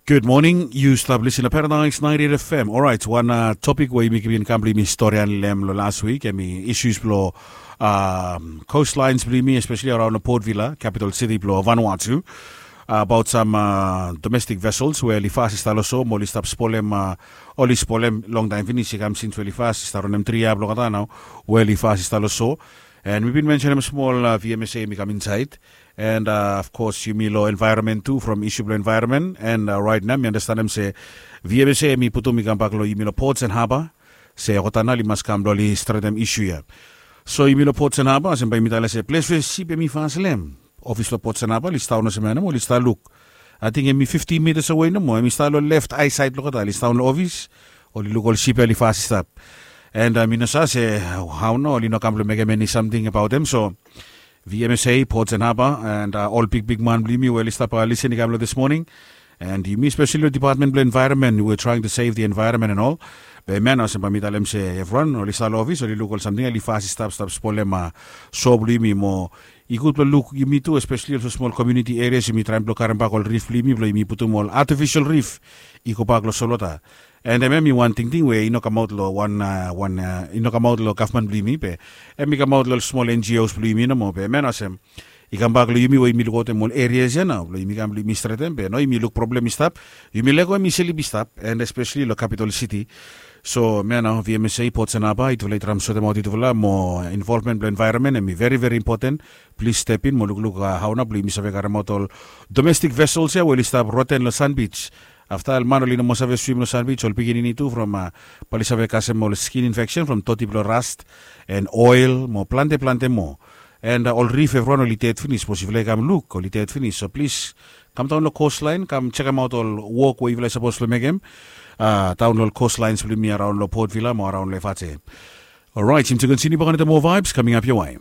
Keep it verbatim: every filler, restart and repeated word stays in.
Good morning. Yu stap lisin long Paradise ninety-eight F M. Orait, wan topik we yumi bin kam blong yumi stori long hem long las wik, hemi issues blong coastlines blong yumi, especially around long Port Vila, capital city blong Vanuatu. Abaot sam domestic vessels we oli fas i stap long so, mo oli stap spolem, oli spolem longtaem finis, i kam sins we oli fas i stap ronem tri yia blong olgeta nao, we oli fas i stap long so. And mi bin mensenem smol, V M S A hemi kam insaed. And of course yumi long environment tu, from issue blong environment. And right nao mi andastanem se V M S A hemi putum i kambak long yumi long Ports and Harbour, se olgeta nao oli mas kam blong oli stretem issue ya. So yumi long Ports and Harbour, olsem bae yumi talem se ples we sip hemi fas long hem, ofis blong Ports and Harbour oli stap daon olsem ya nomo, oli stap luk. Ating hemi fifty meters away nomo, hemi stap long left eye side blong olgeta, oli stap daon long ofis, oli luk ol sip ya oli fas i stap. And mi no save se hao nao oli no kam blong mekem eni samting abaot hem. So V M S A, Ports and Harbour, and ol bigbigman blong yumi we oli stap lisin i kam long this morning. And yumi especially long department blong environment, we trying to save the environment and all. Be hemia nao olsem bae mi talem se evriwan oli stap long ofis, oli luk ol samting ya oli fas i stap, stap spolem so blong yumi. Mo i gud blong luk yumi tu, especially olsem smol community areas, yumi traem blong karembak ol reef blong yumi, blong yumi putum ol artificial reef i gobak long solwota. And hemia hemi wan tingting we i no kamaot long wan, wan, i no kamaot long gavman blong yumi, be hemi kamaot long ol smol N G Os blong yumi nomo. Be hemia nao olsem i kambak long yumi we yumi lukaotem ol areas ya nao blong yumi kam blong yumi stretem, be nao yumi luk problem i stap, yumi lego hemi slip i stap, and especially long capital city. So hemia nao V M S A, Ports and Harbour, yutufala i traem sotemaot yutufala, mo involvement blong environment hemi very, very important. Plis step in mo lukluk hao nao blong yumi save karemaot ol domestic vessels ya we oli stap roten long sand beach. Afta ol man oli no moa save swim long sand beach, ol pikinini tu, from bae oli save kasem ol skin infection from doti blong rust and oil mo plante, plante moa. And ol reef evriwan oli ded finis, sapos yufala i kam luk oli ded finis. So plis, kam daon long coastline, kam jekemaot ol wok we yufala i sapos blong mekem daon long ol coastlines blong yumi araon long Port Vila mo araon long Efate. Orait, yumi tu kontiniu bak wantaem moa vibes coming up your way.